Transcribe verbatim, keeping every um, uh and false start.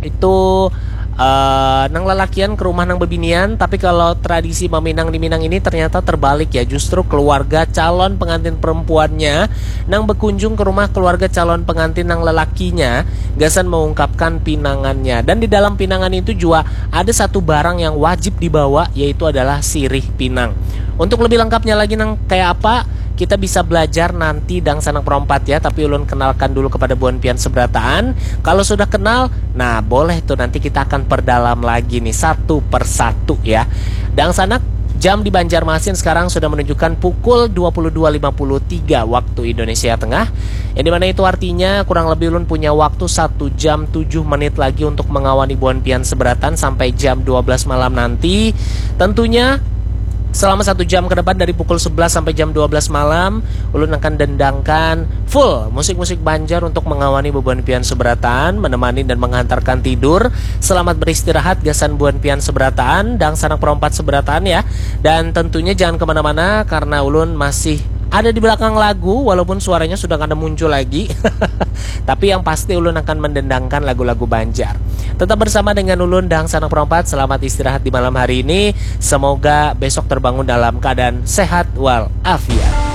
itu uh, nang lelakian ke rumah nang bebinian, tapi kalau tradisi maminang di Minang ini ternyata terbalik ya, justru keluarga calon pengantin perempuannya nang berkunjung ke rumah keluarga calon pengantin nang lelakinya gasan mengungkapkan pinangannya. Dan di dalam pinangan itu juga ada satu barang yang wajib dibawa, yaitu adalah sirih pinang. Untuk lebih lengkapnya lagi nang kayak apa, kita bisa belajar nanti dangsanak perompat ya, tapi ulun kenalkan dulu kepada buan pian seberataan. Kalau sudah kenal, nah boleh tuh nanti kita akan perdalam lagi nih satu persatu ya. Dangsanak, jam di Banjarmasin sekarang sudah menunjukkan pukul dua puluh dua lima puluh tiga waktu Indonesia Tengah. Yang dimana itu artinya kurang lebih ulun punya waktu satu jam tujuh menit lagi untuk mengawani buan pian seberataan sampai jam dua belas malam nanti. Tentunya selama satu jam ke depan dari pukul sebelas sampai jam dua belas malam, ulun akan dendangkan full musik-musik Banjar untuk mengawani bubuhan pian seberataan, menemani dan menghantarkan tidur. Selamat beristirahat gasan buhan pian seberataan, dangsanak perompat seberataan ya. Dan tentunya jangan kemana-mana karena ulun masih ada di belakang lagu, walaupun suaranya sudah kada muncul lagi. Tapi yang pasti ulun akan mendendangkan lagu-lagu Banjar. Tetap bersama dengan ulun dangsanak perompat. Selamat istirahat di malam hari ini. Semoga besok terbangun dalam keadaan sehat walafiat.